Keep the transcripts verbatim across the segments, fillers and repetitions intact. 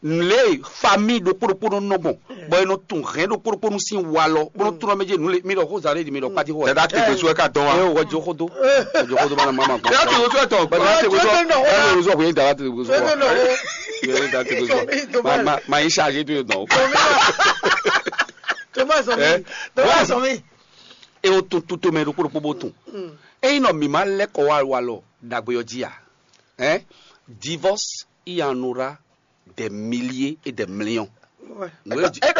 Lé famille ɖokpó ɖokpó nɔ nɔ gbɔn, bɔ è nɔ tun hɛn ɖokpó ɖokpó nu sín walɔ bó nɔ tunɔ mɛ jɛ nǔ le mi ɖɔ xó zan ɖé di mi ɖɔ kpati xó. Dada te gbèsè wɛ ka dɔn wa. Ɛ wɔ jo xó do wɔ jo xó do ma na ma ma gbɔn. Dada te gbèsè wɛ dada te gbèsè wɛ. Yɛ dada te gbèsè wɛ ma ma yi chargé to yɛ dɔn. Thomas sɔmi. Thomas sɔmi. E o tun tuto mɛ ɖokpó ɖokpó bó tun. Eyi nɔ mi ma lɛ kɔ wa walɔ dagbe ɔ jí a. Hein? Divorce il y en aura des milliers et des millions. Nǔ e jijɛ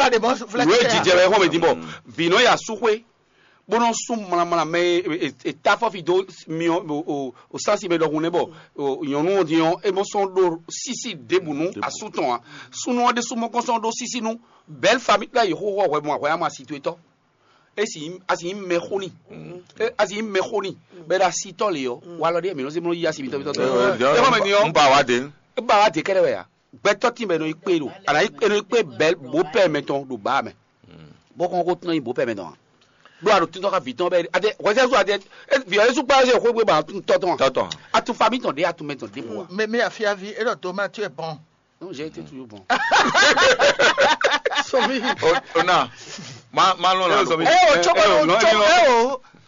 wɛ xɔmɛ din bɔ vǐ nɔ ya súxwé bó nɔ sú mlamla mɛ e ta fɔfi dó myɔ o sansi mɛ ɖɔhun nɛ bɔ nyɔnu ɔ́ din ɔ́ é mɔ sɔn ɖó sísí ɖěbǔ nú asú tɔn a súnú ɔ́ ɖésú mɔ kɔn sɔn ɖó sísí nú belle famille la yi xóxó hwɛ mɔ hwɛ ama situé tɔ. Esi asi nyí mɛxó n'i. Asi nyí mɛxó n'i. Bɛ ɖo asitɔ le ɔ, walɔ ɖe mǐ nɔ se mlɔ yi asi mitɔ mitɔ tɔ. Ɛ xɔmɛ ni ɔ. N ba wa de. E ba wa de kɛɖɛ wɛ ya. Gbɛtɔ tin bɛ nɔ yi kpe ɖo. Ana yi nɔ yi kpe bɛ bo pɛ mɛ tɔn ɖo ba mɛ. Bɔ kɔn ko tɔn yi bo pɛ mɛ tɔn. Ɖo a ɖo tɔn ka vi tɔn bɛ ade wɛsɛ so ade vi ɔ yesu kpa se xwegbe ba tɔn tɔn. Tɔtɔ. Atu fa mi tɔn de atu mɛ tɔn de bo wa. Mɛ mɛ afiavi e ɖɔ tomati ɛ bɔn. Non, j'ai été toujours bon. Sɔmi. O na. Ma ma lɔn la. Ɛ o tsobo tsobo ɛ o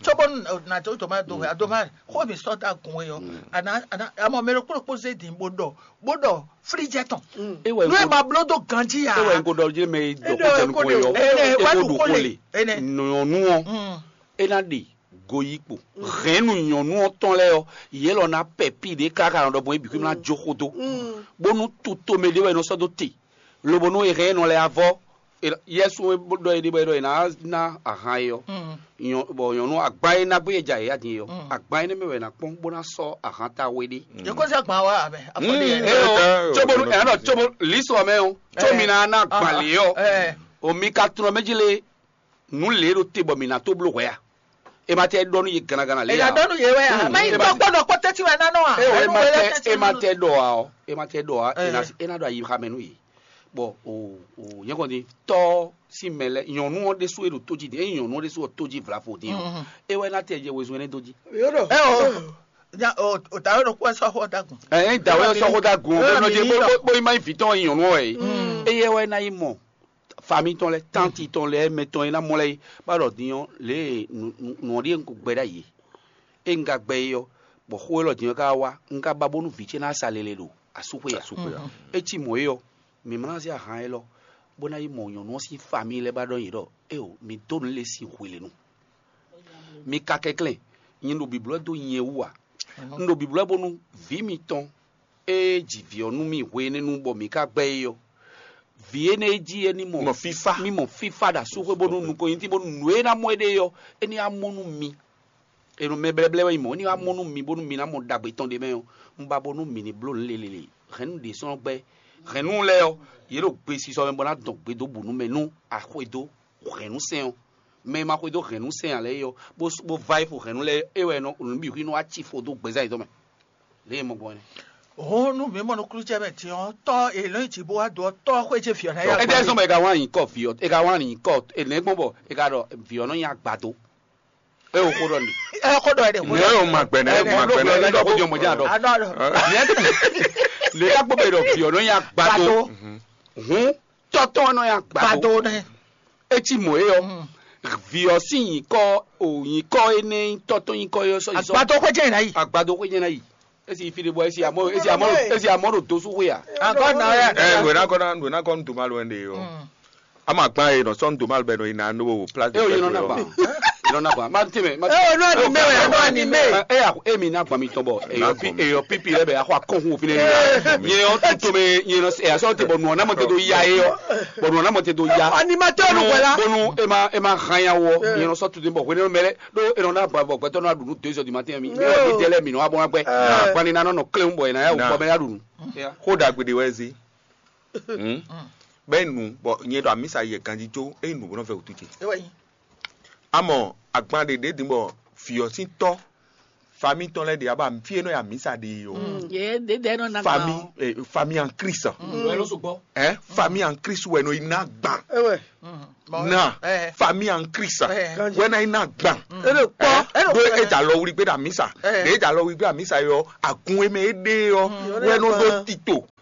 tsobo na to to ma do ɛ do ma ko mi sɔ ta kun ɛ yɔ ana ana amɔ mɛ ɖokpó ɖokpó zé din bó ɖɔ bó ɖɔ flijɛ tɔn. Ewe nú ɛ ma bló dó ganji ya. Ewe nko ɖɔ jɛ mɛ dɔ ko jɛ nukun yɔ. Ɛ wa eko ɖo ko le. Nyɔnu ɔ. E na ɖe goyikpo hɛnnu nyɔnu ɔ́ tɔn lɛ́ɛ ɔ́, yě lɔ ná pɛ pí ɖě káká nɔ ɖɔ bɔ é bǐ xwé ná jó xó dó, bónú tutomɛ ɖé wɛ è nɔ sɔ́ dó te, lobo nú è hɛn nɔ lɛ́ɛ avɔ. Yɛsu ɖɔ é ɖe bɔ é ɖɔ è nǎ ná ahan é ɔ́, bɔ nyɔ̌nu agban e ná gbé e ja yě adin é ɔ́, agban énɛ́ mɛ wɛ è nǎ kpɔ́n bó ná sɔ́ ahan ta we ɖé. Yě kó sɛ́ gbǎn wá abɛ afɔ ɖé yɛ. Eo, cóbónú ɛ nɔ cóbó lísɔ mɛ o, có mi ná ná gbǎn lě ɔ́, o mi ka tunɔ mɛ jí lé nǔ lě ɖo te bɔ mǐ ná tó bló hwɛ a? È ma tɛ ɖɔ nú yě gannagana lě È a? Nɔ ɖɔ nú yě wɛ a? Má yi tɔ kpɔ́ ɖɔ kpɔ́ tɛ́ntin wɛ ná nɔ a? É wɔ é ma tɛ é ma tɛ ɖɔ a ɔ, é ma tɛ ɖɔ a ɔ, é ná é ná ɖɔ ayi xá mɛ nú yě. Bɔ o o nyɛ kɔn din tɔ sín mɛ lɛ nyɔnu ɔ́ ɖésú e ɖo tó jí din, ényí nyɔnu ɔ́ ɖésú ɔ tó jí vlavo din ɔ, é wɛ ná tɛ jɛ wezun énɛ́ dó jí. Yóò dɔ. Ɛ o nya o o ta yóò dɔ kú ɛ sɔ xɔ dagun. Ɛ ɛ da wɛ sɔ xɔ dagun ɔ bɛ nɔ jɛ bó bó bó yi ma yi vǐ tɔn nyɔnu ɔ yɛ. Eye wɛ ná yi mɔ fami tɔn lɛ tanti tɔn lɛ mɛ tɔn e ná mɔ lɛ yi bá ɖɔ din ɔ lě e nǔ nǔ ɔ́ ɖíe un ko gbɛ ɖ'ayǐ e un ka gbɛ é ɔ́, bɔ xó élɔ́ din ɔ́ ka wá un ka ba bónú vǐ ce ná sa lele ɖo asúxwé ǎ. Asúxwé ǎ. É cí mɔ̌ é ɔ́, mǐ ma ná zé ahan élɔ́ bó ná yi mɔ nyɔ̌nu ɔ́ sín fami lɛ́ɛ bá ɖɔ nyi ɖɔ éeǒ, mi dó nǔ lě sin hwelenu. Mi ka kɛnklɛ́n, nyɛ ɖo bǐblɔ́ dó nyɛ wú ǎ. Un ɖo bǐblɔ́ bónú vǐ mitɔn e ji vǐ ɔ́ nú mì hwe énɛ́ nu bɔ mǐ ka gbɛ́ é ɔ́, vǐ énɛ́ e jí é ní mɔ Mɔ fífá. Mí mɔ fífá ɖo asúxwé bónú nukɔn nyi bónú nǔ e ná mɔ éɖée ɔ́, é ní wá mɔ nú mi. È nɔ mɛ blɛ́blɛ́ wɛ nyí mɔ̌, é ní wá mɔ nú mi bónú mi ná mɔ ɖagbe tɔn ɖ'é mɛ ɔ́, un ba bónú mǐ ní bló nǔ lélele. Hɛ̌nnu ɖě sɔ́ gbɛ́, hɛ̌nnu lɛ́ɛ ɔ́, yě ɖo gbesisɔ mɛ bó ná dɔn gbe dó bǔ nú mɛ nú a xwedó hɛ̌nnusɛn ɔ́. Mɛ e ma xwedó hɛ̌nnusɛn ǎ lɛ́ɛ é ɔ́, bó bó vá yi xo hɛ̌nnu lɛ́ɛ é wɛ nɔ nǔ bǐ xwí nɔ wá ci fo dó gbɛzán yětɔn mɛ. Lě e mɔ gbɔn é. Hǔn nú mǐ mɔ nukúnnú ce mɛ din ɔ́, tɔ́ e lɔ̌ nyi jǐ bó wá dó ɔ́, tɔ́ xwé ce vǐ ɔ́ ná yá. Étɛ́ sɔ́ bɔ è ka wá nyi kɔ vǐ ɔ́, è ka wá nyi kɔ è nɛ̌ gbɔn bɔ è ka ɖɔ vǐ ɔ́ nɔ nyi agbado. É wo xó ɖɔ n'i. Ɛ xó ɖɔ ɛ ɖe. Nɛ o ma gbɛnɛ o ma gbɛnɛ. Ɛ ɖɔ xó jɔ mɔdé àdɔ. Àdɔ àdɔ. Lè ká gbọ́ bẹ̀ ɖɔ vǐ ɔ́ nɔ nyi agbado. Hǔn tɔ́tɔ́ nɔ nyi agbado. Gbado nɛ. Etí mɔ é ɔ. Vǐ ɔ́ sín nyǐkɔ o nyǐkɔ énɛ́ nyí tɔ́tɔ́ nyǐkɔ é ɔ́ sɔ́ yi sɔ́. Agbado xwé jẹ́ ìnáyì. Agbado xwé jẹ́ ìnáyì. Esi fi ɖe bɔ esi amɔ esi amɔ esi amɔ ɖo dosu xwé a. Agɔ na ya. Ɛ nwe na kɔ na nwe na kɔ nu to ma lo ɛn de o. Ama gban ye nɔ sɔn domal bɛ nɔ yina no place de fête. Yinɔ na gban. Yinɔ na gban. Ma ti mɛ. Ɛ o nɔ ni mɛ wɛ nɔ ni mɛ. Ɛ ya e mi na gban mi tɔn bɔ eyɔ pi eyɔ pipi lɛ bɛ akɔ akɔnkun òfin ne. Nyɛ yɔ tuto mɛ nyɛ nɔ ɛ asɔ te bɔ nɔ na mɔ te do ya ye yɔ. Bɔ nɔ na mɔ te do ya. Animateur nu wɛ la. Bonu e ma e ma hanya wɔ nyɛ nɔ sɔ tuto bɔ hwene mɛ lɛ do e nɔ na gban bɔ gbɛtɔ nɔ aɖu nu deux heures du matin mi mi dɛ lɛ mi nɔ abɔ na gbɛ. Agbani na nɔ nɔ kle bɔ yina ya o bɔ mɛ ya ɖu nu. Ko dagbe de wɛ zi. Bɛ nu bɔ nyɛ ɖo amisa yɛ ganji tso eye nu bɔ nɔ vɛ wutu ce. Amɔ agban ɖe ɖe din bɔ viɔ sin tɔ fami tɔn lɛ ɖe aba fi enɔ ya amisa ɖe yi o. Ye ɖe ɖe nɔ na fami gban o. Fami an Christ. Ɛ fami an Christ wɛ nɔ yi na gban. Na fami an Christ wɛ na yi na gban. Ɖo e dza lɔ wuli gbé ɖe amisa ɖe e dza lɔ wuli gbé amisa yɔ agun eme e ɖe yɔ wɛ nɔ ɖo tito.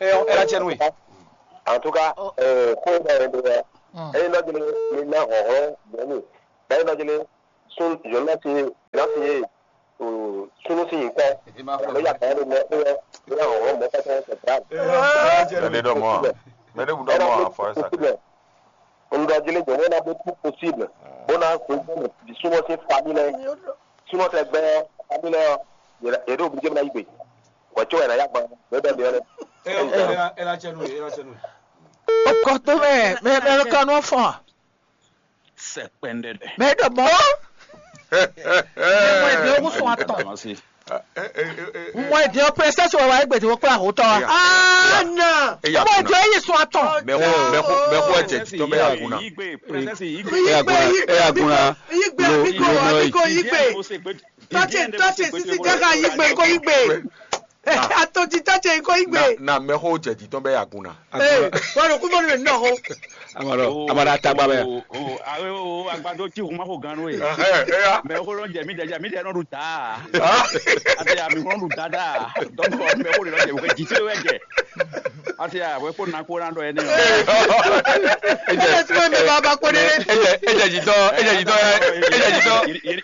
É ɔ́, é ná jɛ nú we. En tout cas, Oh. euh, xó ɖɔ ɛ ɖe ɛ Mm. eye nɔ jele mi ná hɔhlɔn mɔnu bɛɛ nɔ jele Sun, je lance, lance, euh, sunu si nyikɔ. Alo ya kan de mɛ e ya hɔn mɔ kata se tra. Mɛ ɖe ɖɔ mɔ a? Mɛ ɖe bu ɖɔ mɔ a? Fɔ esa. Un ɖɔ jele jɔ wona be tout possible. Bona ko di sunu si famille lɛ. Sunu tɛ gbɛ famille lɛ. Yɛrɛ yɛrɛ obligé na igbe. Wa cho yɛrɛ ya gba. Be be be. Ela ela chenu ela chenu. Okɔtome mɛ mɛ ka nɔ fɔn. Sɛ kpɛndɛdɛ. Mɛ ɖɔ mɔ. Mɔ ɛdi ogun sɔn atɔn. Mɔ ɛdi o princess wa wa egbe ti wo kpla ho tɔ wa. Ana. Mɔ ɛdi o yi sɔn atɔn. Mɛ ko mɛ ko mɛ ko ɛjɛ tɔ bɛ yà kun na. Yigbe, princess yigbe. Yigbe yigbe Eya gun na. Yigbe abiko abiko yigbe. Tɔtse tɔtse sisi jaga yigbe ko yigbe. Atɔji tɔtse ko yigbe. Na mɛ ko jɛ jitɔn bɛ yà kun na. Ee, wọ́n lọ kú mọ́nú mi nínú ọ̀hún. Amọ̀rọ̀ amọ̀rọ̀ atagba bẹ́ẹ̀. O o awe o agbadó tí o ma ko gan ló ye. Ɛhɛn, ɛya. Mɛ ko lɔ jɛ mi dɛ jɛ mi dɛ nɔ ɖu daa. Ati ami ko lɔ ɖu dada. Dɔnku mɛ ko lɔ jɛ o kɛ jiti wɛ jɛ. Ati awɛ ko na ko na dɔ yɛ ne. Ẹ ti mọ̀ mi bàbá kó dé. Ejẹ ejẹ jitɔ ejẹ jitɔ ejẹ jitɔ.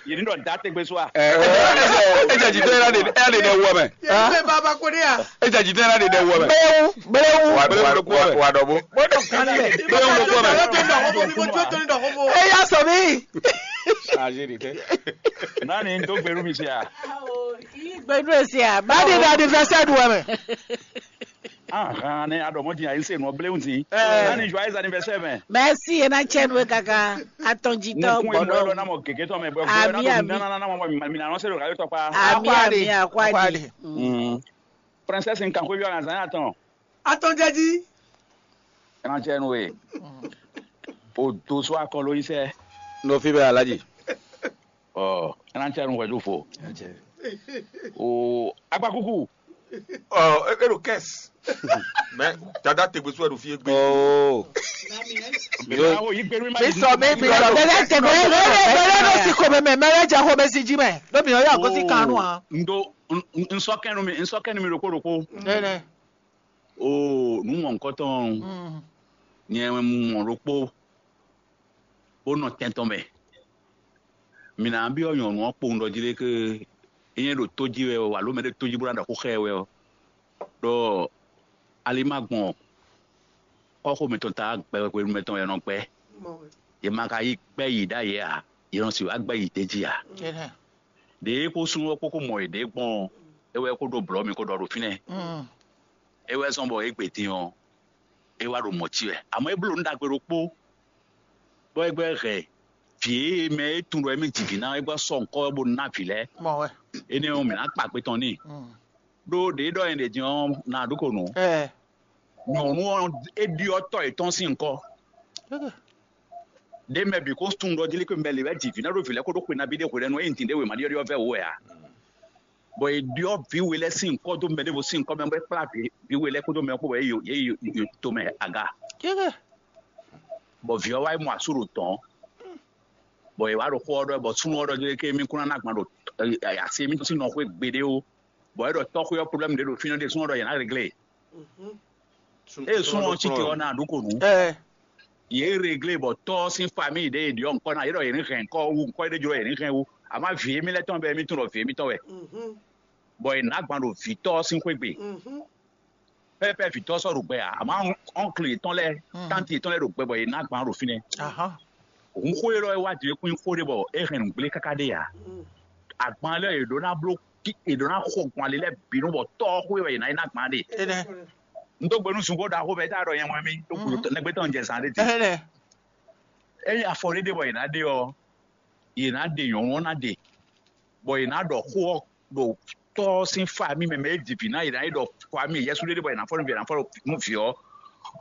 Yìí dɔ da tẹgbẹ so a. Ejẹ jitɔ yẹn de yẹn de dẹ wọ mɛ. Yìí mi bàbá kó dé à. Ejẹ jitɔ yẹn de dẹ wọ mɛ. Bẹ́ẹ̀wù bẹ́ẹ̀wù. Wa wa wa dɔ bo. Bẹ́ẹ̀ ni ọ̀gá mi. Bẹ́ẹ̀ ni ọ̀gá mi. Bẹ́ẹ̀ ni ọ̀gá mi. Ẹ yá sọ mí. Ṣáàṣì rè tẹ́. Nani n tó gbèrú mi sí a. Gbẹdú èsì à. Báyìí ni anniversaire du wẹ̀ mẹ́. Ahan ne aɖɔmɔdzi ayi se nɔ bléwu si. Ɛɛ. Nani joyeux anniversaire mɛ. Mɛsi yẹn na tsɛ nu kaka atɔnjitɔ Mo kún emu ɛlɔ gbɔdɔ. Na mɔ gègé tɔn mɛ bɔ Ami, ɛlɔ ami. Nana na mɔ mi na nɔ se ɖo kayɔ tɔkpa. Ami ami akwadi. Princesse n kan xwé bi ɔna zan atɔn. Atɔnjɛji. Ɛna tsɛ nu e. O do so akɔlo yi sɛ. N'o fi bɛ alaji. Ɔ ɛna tsɛ nu wɛdu fo. O agbakuku. Ɔ e ɖo kɛs. Mɛ dada tegbe so ɛ ɖo fi egbe. Ooo. Mɛ ma ko yi gbɛnu ma Mi sɔ mi mi sɔ. Mɛ lɛ tɛ mɛ lɛ lɛ lɛ lɛ si ko mɛ mɛ mɛ lɛ jɛ ko mɛ si ji mɛ. N'o mi yɔ yɔ ko si kan nu a. N do n sɔ kɛnu mi n sɔ kɛnu mi ɖokpo ɖokpo. Nɛnɛ. O nu mɔ nkɔtɔn nyɛ mɔ ɖokpo. Bó nɔ tɛntɔn mɛ. Mi na byɔ́ nyɔ̌nu ɔ́ kpowun ɖɔ jí ɖé ké é nyɛ ɖo tó jí wɛ ɔ́, alo mɛ ɖé tó jí bó ná ɖɔ xó xá ɛ wɛ ɔ́, ɖɔ ali ma gbɔn kɔ́xo mǐtɔn ta gbɛ hwenu mɛtɔn wɛ nɔ gbɛ. Yě ma ka yí gbɛ́ yǐ ɖ'ayǐ ǎ, yě nɔ sixú wá gbɛ́ yǐ d'é jí ǎ. Ɖěe kó súnnu ɔ́ kpó kó mɔ yěɖée gbɔn ɔ́, é wɛ kó ɖó blɔ̌ mi kó ɖɔ ɖo fínɛ́. É wɛ zɔ́n bɔ é gbe din ɔ́, é wá ɖo mɔ̌ cí wɛ. Amɔ̌ é bló nǔ ɖagbe ɖokpó, bɔ é gbɛ́ hɛn vǐ e mɛ e tunwun ɖɔ émí ji vǐ ná é gbɔ sɔ́ ŋkɔ́ bó ná vǐ lɛ́ɛ. Énɛ́ ɔ́, mǐ ná kpa kpe tɔn n'i. Ɖó ɖě ɖɔ nyɛ ɖě din ɔ́, nǎ ɖu ko nǔ. Nyɔ̌nu ɔ́, é ɖyɔ́ tɔ́ yětɔn sín ŋkɔ́. Ɖě mɛ bǐ ko tunwun ɖɔ jí lé ko mɛ lě wɛ ji vǐ ná ɖó vǐ lɛ́ɛ kó ɖó xwe nabí ɖé hwelɛ́nu e nyi din ɖé wěma ɖyɔ́ɖyɔ́ vɛ́ wú wɛ ǎ. Bɔ è ɖyɔ́ vǐ we lɛ́ɛ sín ŋkɔ́ dó mɛ ɖěvo sín ŋkɔ́ mɛ bɔ é kplá vǐ we lɛ́ɛ kpódó mɛ kpó bɔ yě yi yě yi tomɛ aga. Bɔ vǐ ɔ́ wá yi mɔ asú ɖo dɔ̌n, bɔ è wǎ ɖo xó ɔ́ ɖɔ bɔ súnnu ɔ́ ɖɔ ké mí kún ná ná gban ɖo asi émítɔn sín nɔ xwé gbeɖé ó. Bɔ é ɖɔ tɔ́xwé ɔ́ problème ɖě ɖo fínɛ́ ɖé súnnu ɔ́ ɖɔ yě ná réglé. Ée súnnu ɔ́ cí te ɔ́ ná ɖu ko nǔ. Yě réglé bɔ tɔ́ ɔ́ sín famille ɖě è ɖyɔ́ ŋkɔ́ ná yě ɖɔ yě ní hɛn ŋkɔ́ wú, ŋkɔ́ ɖé jló yě ní hɛn wú. Àmọ́ vǐ émí lɛ́ɛ tɔn bɛ́ émí tunwun ɖɔ vǐ émítɔn wɛ. Bɔ è nǎ gban ɖo vǐ tɔ́ ɔ́ sín xwé gbe. Pɛ́pɛ́ vǐ tɔ́ sɔ́ ɖo gbɛ ǎ, àmọ́ ɔ́nkli yětɔn lɛ́ɛ, tánti yětɔn lɛ́ɛ ɖo gbɛ bɔ è nǎ gban ɖo fínɛ́. Hǔn xó élɔ́ e wá din é kún nyí xó ɖé bɔ é hɛn nǔgblé káká ɖé ǎ. Agban lɛ́ɛ è ɖǒ ná bló è ɖǒ ná xo gbɔn ali lɛ́ɛ bǐ nú bɔ tɔ́ xó e wɛ è nǎ yi ná gbǎn ɖe. Un dó gbe nú zungbó ɖaxó mɛ tá ɖɔ nyɛ mɔ mì ɖó gǔdo nɛgbé tɔn jɛ zán ɖé din. Ényí afɔ ɖé ɖe bɔ è nǎ ɖe ɔ́, è nǎ ɖe nyɔ̌nu ɔ́ ná ɖe, bɔ è nǎ ɖɔ xó ɔ́ ɖo tɔ́ ɔ́ sín famille mɛ mɛ e ji vǐ ná è nǎ yi ɖɔ famille yɛsú ɖé ɖe bɔ è nǎ fɔ nú vǐ è nǎ fɔ nú vǐ ɔ́,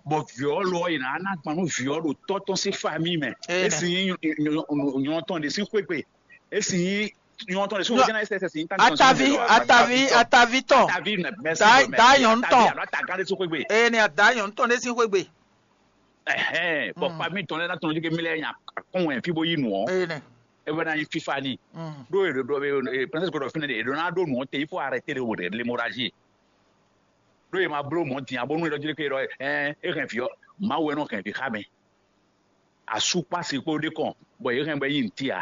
bɔ vǐ ɔ́ lo ɔ́ è nǎ ná gban nú vǐ ɔ́ ɖo tɔ́ tɔn sín famille mɛ. É sin nyí nyɔ̌nu tɔn ɖě sín xwé gbe. É sin nyí nyɔ̌nu tɔn ɖě sín xwé gbe. Atavi atavi atavi tɔn. Atavi nɛ mɛsi. Da nyɔ̌nu tɔn. Alo atagán ɖé sín xwé gbe. Eye ni ada nyɔ̌nu tɔn ɖé sín xwé gbe. Ɛhɛn, bɔ famille tɔn lɛ́ɛ ná tɔn jí ké mi lɛ́ɛ nya kɔn wɛ fí bó yí nǔ ɔ́. É wɛ ná nyí fífá ni. Ɖó è ɖo ɖɔ prince gbɔdɔ fínɛ́ ɖe è ɖo ná ɖó nǔ ɔ́ te il faut arrêter le wòde l'hémorragie. Ɖó è ma bló mɔ̌ din ǎ bónú è ɖɔ jí ké ɖɔ ɛ é hɛn vǐ ɔ́, Mawu wɛ nɔ hɛn vǐ xá mɛ. Asú kpó asi kpó ɖé kɔn bɔ yě hɛn bɔ é nyí nǔtí ǎ.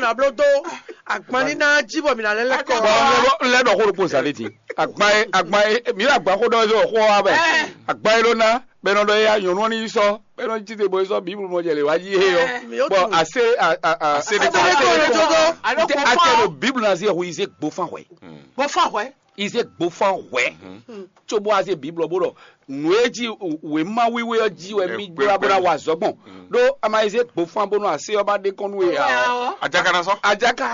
nǎ bló dó agban ní ná jí bɔ mǐ ná lɛ́ lɛ́ kɔ. Bɔn n lɛ́ ɖɔ xó ɖokpó zǎn lé din. Agban e agban e mǐ ɖo agban xó ɖɔ e xó wa bɛ. Agban e ɖó ná bɛ nɔ ɖɔ ya nyɔ̌nu ɔ́ ní yi sɔ́ bɛ nɔ jí te bɔ yi sɔ́ bíblu mɔ jɛ lě wá jí é ɔ́. Bɔn ase ase Ase de de ko le jojo. Ate ate ɖo bíblu ná zé hu yi zé gbo fán hwɛ. Bó fà hwɛ. Yi zé gbo fán hwɛ. Tso bó azé bíblu ɔ́ bó ɖɔ nǔ e jí wěma wíwé ɔ́ jí wɛ mì gbla bó ná wa azɔ̌ gbɔn. Ɖó a ma yi zé gbofán bónú asé ɔ́ ba ɖe kɔn nú we ǎ. Ajaka ná sɔ́. Ajaka